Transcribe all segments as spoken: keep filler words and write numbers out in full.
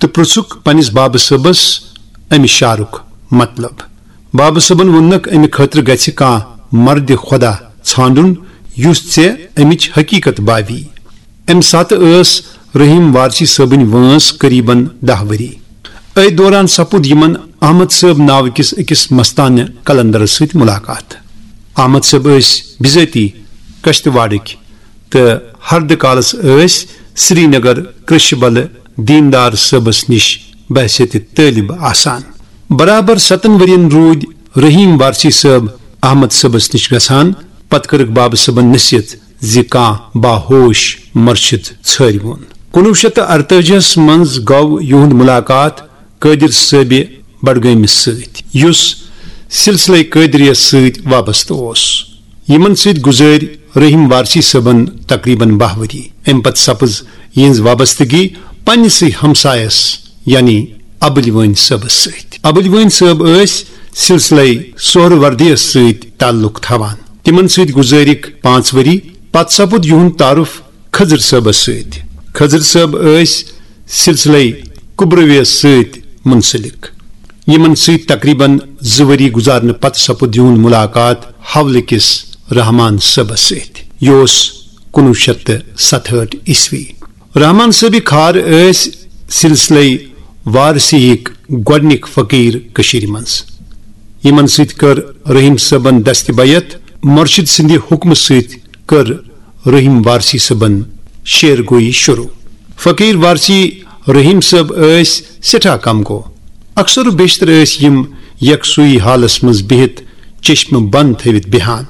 پرژھُکھ پننِس بابہٕ صٲبس امہِ شعرُک مطلب۔ بابہٕ صٲبن ووٚننکھ، امہِ خٲطرٕ گژھِ کانٛہہ مردِ خۄدا ژھانڈُن، یُس ژےٚ امِچ حقیقت باوی۔ امہِ ساتہٕ ٲس رحیم وارثی صٲبٕنۍ وٲنٛس قریباً دَہ ؤری۔ أتھۍ دوران سپُد یِمن احمد صٲب ناوٕ کِس أکِس مستانہِ قلندرس سۭتۍ ملاقات۔ احمد صٲب ٲسۍ بذٲتی کشتواڑٕکۍ تہٕ ہردٕ کالس ٲسۍ سرینگر کرشبلہٕ دیندار صٲبس نِش بحیثیت طٲلب آسان۔ برابر ستن ؤرین روٗدۍ رحیم وارثی صٲب احمد صٲبس نِش گژھان۔ پتہٕ کٔرٕکھ بابہٕ صٲبن نصیحت زِ کانٛہہ باہوش مرشد ژھٲرِوُن۔ کُنوُہ شیٚتھ تہٕ ارتٲجیس منٛز گوٚو یِہُنٛد ملاقات قٲدر صٲبِ بڈگٲمِس سۭتۍ، یُس سلسلے قٲدریس سۭتۍ وابستہٕ اوس۔ یِمن سۭتۍ گُزٲرۍ رحیم وارثی صٲبن تقریباً باہ ؤری۔ امہِ پتہٕ سپٕز یِہنٛز وابستگی پننِسٕے ہمسایس، یعنی ابٕلۍ وٲنۍ صٲبس سۭتۍ۔ ابٕلۍ وٲنۍ صٲب ٲسۍ سلسلے سہروردیس سۭتۍ تعلق تھاوان۔ تِمن سۭتۍ گُزٲرِکھ پانٛژھ ؤری۔ پتہٕ سپُد یِہُنٛد تعارُف کھٔزٕر صٲبس سۭتۍ۔ کھٔزٕر صٲب ٲسۍ سلسلے کبرویس سۭتۍ منسلک۔ یِمن سۭتۍ تقریباً زٕ ؤری گُزارنہٕ پتہٕ سپُد یِہُنٛد ملاقات حولہٕ کِس رحمان صٲبس سۭتۍ۔ یہِ اوس کُنوُہ شیٚتھ تہٕ ستہٲٹھ عیسوی۔ رحمان صٲبِ کھار ٲسۍ سلسلے وارثی ہٕکۍ گۄڈنِکۍ فقیٖر کٔشیٖرِ منٛز۔ یِمن سۭتۍ کٔر رحیم صٲبن دستِ بیعت۔ مرشد سٕنٛدِ حُکمہٕ سۭتۍ کٔر رحیم وارثی صٲبن شعر گویی شروع۔ فقیٖر وارثی رحیم صٲب ٲسۍ سٮ۪ٹھاہ کم گو۔ اکثر و بیشتر ٲسۍ یِم یکسوئی حالس منٛز بِہِتھ چشمہٕ بنٛد تھٲوِتھ بیہان۔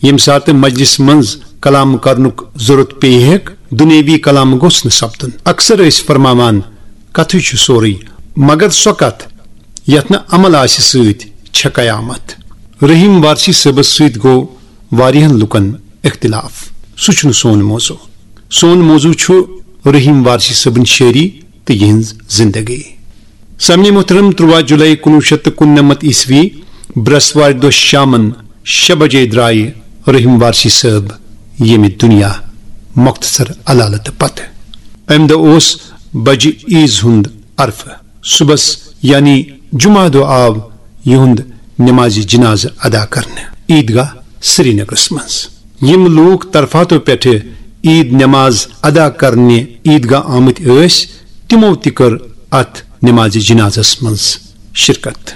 ییٚمہِ ساتہٕ مجلس منٛز کلام کرنُک ضرورت پیٚیہِ ہیٚکھ، دُنیٲوی کلام گوٚژھ نہٕ سپدُن۔ اکثر ٲسۍ فرماوان، کتھٕے چھُ سورُے، مگر سۄ کتھ یتھ نہٕ عمل آسہِ سۭتۍ چھےٚ قیامت۔ رحیم وارثی صٲبس سۭتۍ گوٚو واریاہن لُکن اختلاف۔ سُہ چھُنہٕ سون موضوع۔ سون موضوع چھُ رحیم وارثی صٲبٕنۍ شٲعری تہٕ یِہنٛز زندگی۔ سامعین محترم، ترٛواہ جولائی کُنوُہ شیٚتھ تہٕ کُننمتھ عیسوی برٛسوارِ دۄہ شامن شےٚ بجے درٛایہِ رحیم وارثی صٲب ییٚمہِ دُنیا مختصر علالتہٕ پتہٕ۔ امہِ دۄہ اوس بجہِ عیز ہُنٛد عرفہٕ۔ صُبحس یعنی جمعہ دۄہ آو یِہُنٛد نمازِ جنازٕ ادا کرنہٕ عیدگاہ سرینگرس منٛز۔ یِم لوٗکھ طرفاتو پٮ۪ٹھٕ عید نماز ادا کرنہِ عیدگاہ آمٕتۍ ٲسۍ، تِمو تہِ کٔر اتھ نمازِ جنازس منٛز شرکت۔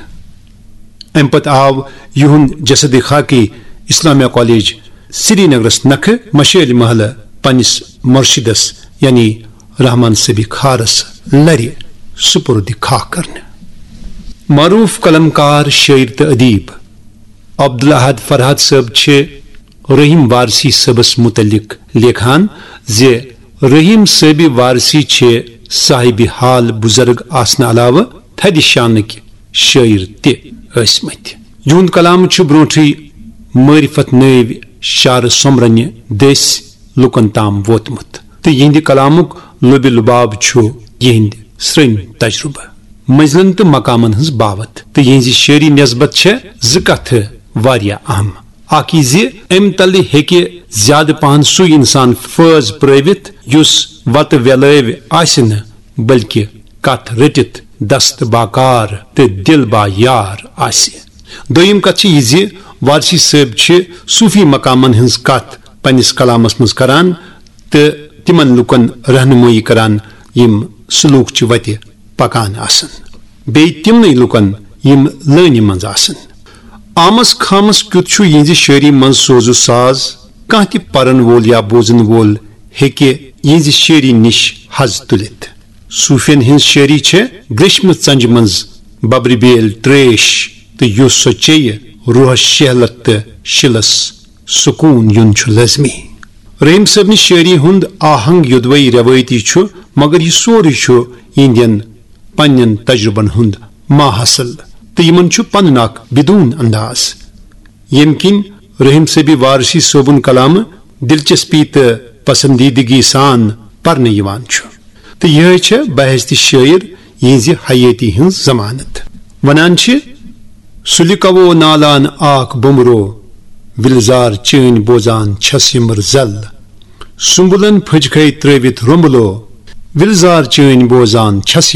امہِ پتہٕ آو یِہُنٛد جسدِ خاکی اسلامیہ کالج سرینگرس نکھٕ مشٲلۍ محلہٕ پننِس مرشدس یعنی رحمان صٲبِ کھارس لرِ سپرد خاک کرنہٕ۔ معروف قلمکار، شٲعر تہٕ ادیب عبدالاحد فرحت صٲب چھِ رحیم وارثی صٲبس متعلق لیکھان زِ رحیم صٲبِ وارثی چھِ صاحبِ حال بزرگ آسنہٕ علاوٕ تھدِ شانٕکۍ شٲعر تہِ ٲسمٕتۍ۔ یِہُنٛد کلام چھُ برونٹھٕے معرفت نٲوۍ شعرٕ سومبرنہِ دٔسۍ لوٗکن تام ووتمُت تہٕ یِہنٛدِ کلامُک لوٚبِ لُباب چھُ یِہنٛدۍ سرٛنۍ تجربہٕ، منزلن تہٕ مقامن ہٕنٛز باوتھ۔ تہٕ یِہنٛزِ شٲعری نسبت چھےٚ زٕ کتھٕ واریاہ اہم۔ اکھ یہِ زِ امہِ تلہٕ ہیٚکہِ زیادٕ پہن سُے انسان فٲض پرٲوِتھ یُس وتہٕ ویلٲوۍ آسہِ نہٕ، بلکہِ کتھ رٔٹِتھ دست باکار تہٕ دل با یار آسہِ۔ دوٚیِم کتھ چھِ یہِ زِ وارثی صٲب چھِ صوٗفی مقامن ہٕنٛز کتھ پننِس کلامس منٛز کران تہٕ تِمن لوٗکن رہنمٲیی کران، یِم سلوک چہِ وتہِ پکان آسن، بیٚیہِ تِمنٕے لوٗکن، یِم لٲنہِ منٛز آسن۔ آمس خامس کیُتھ چھُ یِہنٛزِ شٲعری منٛز سوز و ساز، کانٛہہ تہِ پرن وول یا بوزن وول ہیٚکہِ یِہنٛزِ شٲعری نِش حظ تُلِتھ۔ صوٗفین ہٕنٛز شٲعری چھےٚ گریشمہٕ ژنجہِ منٛز ببرِ بیل تریش، تہٕ یُس سۄ چیٚیہِ، روحس شہلت تہٕ شِلس سکوٗن یُن چھُ لٲزمی۔ رحیم صٲبنہِ شٲعری ہُنٛد آہنگ یوٚدوَے رٮ۪وٲیتی چھُ، مگر یہِ سورُے چھُ یِہنٛدٮ۪ن پننٮ۪ن تجربن ہُنٛد ماحصل، تہٕ یِمن چھُ پنُن اکھ بدون انداز، ییٚمہِ کِنۍ رحیم صٲبِ وارثی صٲبُن کلامہٕ دلچسپی تہٕ پسندیدگی سان پرنہٕ یِوان چھُ۔ تہٕ یِہے چھےٚ بحیثیت شٲعر یِہنٛزِ حیٲتی ہٕنٛز ضمانت۔ ونان چھِ، سُلہِ کوو نالان آکھ بومرو، وِلزار چٲنۍ بوزان چھس یمر زل۔ سُمبلن پھٔجکھے ترٲوِتھ رومبلو، وِلزار چٲنۍ بوزان چھس